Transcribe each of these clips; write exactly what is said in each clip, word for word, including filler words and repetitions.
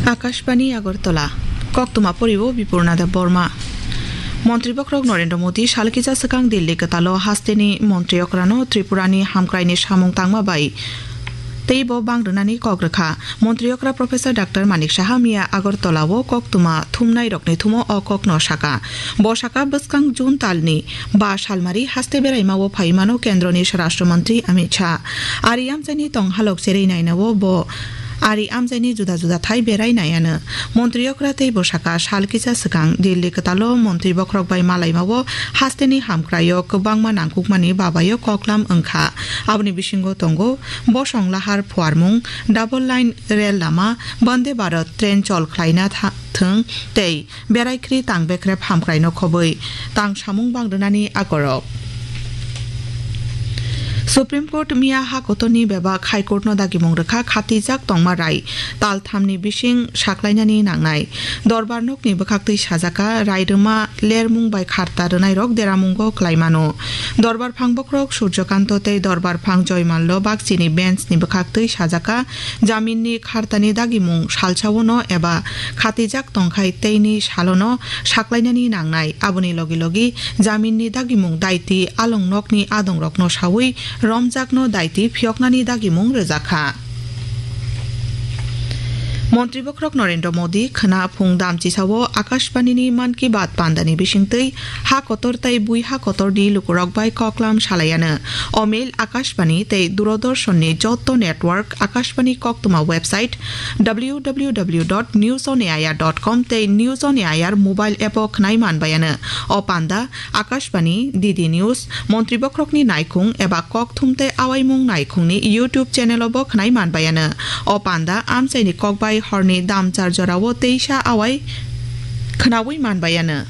Akashbani Agartala, koktwma poribo Bipurna Deb Borma. Montri bokhorok Narendra Modi salkisa swkang Delhi kwtalo hasteni montri okrano Tripurani hamkraini samung tangma bai teibo bang rwnani kok rwkha. Montri okra Professor Doctor Manik Saha miya Agartala-o koktwma thumnairokni thumo o kokno saka. Bo saka bwskang June talni ba salmari haste beraimao phaimano kendroni Swarashtra Montri Amit Shah. Ari amchaini tonghalok cherwi nainao bo ari amchaini juda juda thai berai naiano. Montri okra tei bwsaka sal kisa swkang Delhi kwtalo montri bokhorok bai malaimao hasteni hamkraio kwbangma nangkukmani babaio koklam wngkha. Aboni bisingo tongo bosong lahar phuarmung, double line rel lama, Vande Bharat train chol khlaina tha-, thwng tei berai khri tang bekrep hamkraino khobwi tang samung bang rwnani akorok. Supreme Court miya ha kotorni bebak High Court no dagimung rwkha khatijak tongma rai tal thamni bising saklainani nangnai. Dorbar nokni bwkhaktwi sajaka rai rwma lermung bai kharta rwnairok deramungo kwlaimano. Dorbar phang bokhorok Surjokanto tei Dorbar phang Joymallo bakchini bench ni bwkhaktwi sajaka jaminni khartani dagimung salsaono eba khatijak tongkhai teini salono saklainani nangnai. Aboni logi logi jaminni dagimung daiti along nokni adongrokno sawi romjakno daiti phiyoknani dagimung rwjakha. Montri bokhorok Narendra Modi khwna phung damchisao Akashbanini Mann Ki Baat pandani bisingtwi ha kotor tei bui ha kotorni lukurok bai koklam salaiano. O mail Akashbani tei Doordarshanni jotto network, Akashbani koktwma website, W W W dot news on A I R dot com tei News on A I R mobile app o khwnai manbaiano. O panda Akashbani, D D News, Montri bokhorokni naikhung eba kokthum tei awaimung naikhungni YouTube channel o bo khwnai manbaiano. O panda amchaini kokbai horni damchar jorao teisa awai khwnawi manbaiano.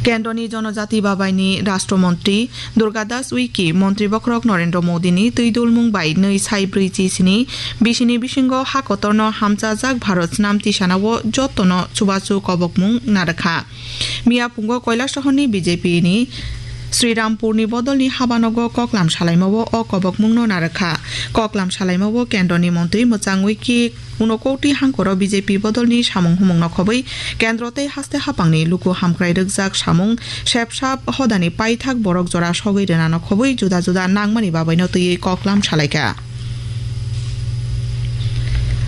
Kendroni Jonojati Babaini Rashtra Montri Durga Das Uiki montri bokhorok Narendra Modini twi dulmung bai nwi sai brwi chi sini bisini bisingo ha kotorno hamchajak Bharat snam tisanao jottono chubachu kobokmung narwkha. Miya pungo Koilasohorni B J P ni Srirampurni bodolni habanogo koklam salaimao o kobokmungno narwkha. Koklam salaimao kendroni montri mwchang Uiki Unokoti hangkoro B J P bodolni samung humungno khobwi kendro tei haste hapangni luku hamkrai rwkjak samung sepsap hodani paithak borok jora sogwi rwnano khobwi juda juda nangmani babaino twiwi koklam salaikha.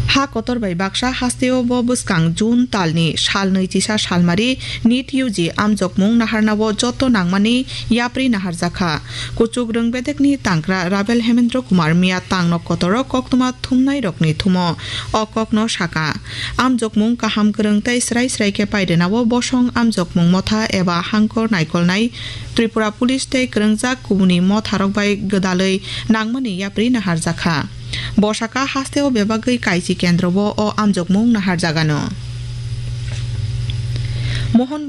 Ha kotor bai baksa hasteo bo bwskang June talni sal nwi chisa salmari NEET U G amjokmung naharnao joto nangmani yapri naharjakha. Kuchuk rwng bedekni tangkra Rabel Hemendra Kumar miya tangno kotoro koktwma thumnairokni thumo o kokno saka. Amjokmung kaham kwrwng tei srai srai khe pairwnao bosong amjokmung motha eba hangkor naikolnai Tripura Police tei kwrwngjak kubuni motharok bai gwdalwi nangmani yapri naharjakha. Bosaka hasteo bebagwi kaisi kendrobo o amjokmung naharjagano. Mohon